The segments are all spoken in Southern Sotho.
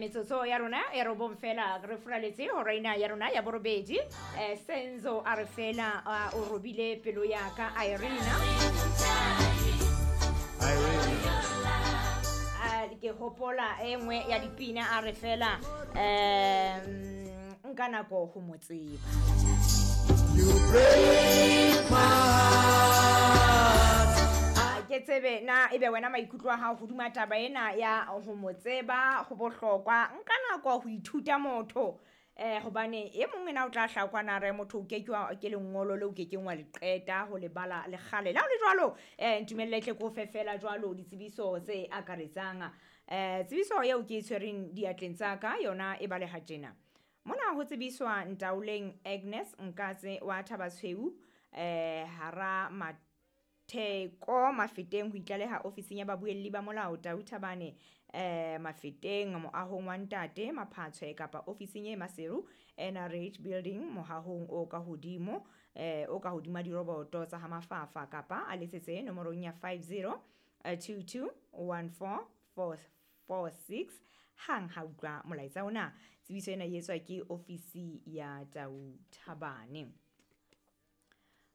Metsotso ya rona e robong fela re furaletse hora ena ya rona ya borobedi. Senzo a re fela o robile pelo ya ka Irena. Irene. Ke hopola e nngwe ya dipina a re fela nka nako ho mo tseba. You break my heart. Ke tsebe na ebe wena maikutlo a hao hodima taba ena ya ho mo tseba ho bohlokwa. Nka nako ho ithuta motho, hobane e mong ena o tla hlaha kwana re motho o ke ke wa, ke lengolo leo o ke keng wa le qeta ho le bala le kgale. Le ha ho le jwalo, ntumelle tle ke o fe fela jwalo ditsebiso tse akaretsang. Tsebiso eo ke e tshwereng diatleng tsa ka yona e baleha tjena. Mona ho tsebiswa Ntaoleng Agnes Nkatse wa Thabatshweu, hara Matheko Mafeteng ho itlaleha ofising ya babuelli ba molao Tau Thabane, Mafeteng moahong wa Ntate Maphatshwe kapa ofising e Maseru NRH building mohahong o ka hodimo, o ka hodima diroboto tsa ha Mafafa kapa a letsetse nomorong ya 50 22 14 446 hang ha utlwa molaetsa ona. Tsebiso ena e etswa ke ofisi ya Tau Thabane.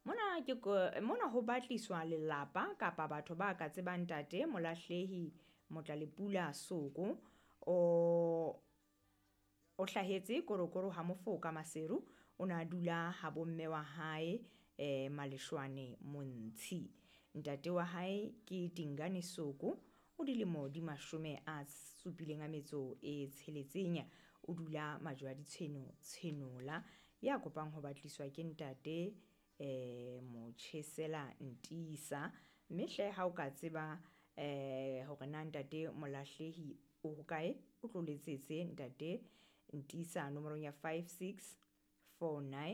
Mona ke mona ho batliswa lelapa kapa batho ba ka tsebang ntate Molahlehi Motlalepula Soko o hlahetse Korokoro ha Mofoka Maseru. O na dula ha bomme wa hae, Maleshwane Montshi. Ntate wa hae ke Dingane Soko, o dilemo di 76, o dula majwe a ditshweno Tshenola. Ya kopang ho batliswa ke ntate Motjhesela Ntisa. Mme hle ha o ka tseba hore na ntate Molahlehi o hokae, o tlo letsetse ntate Ntisa nomorong ya 5649.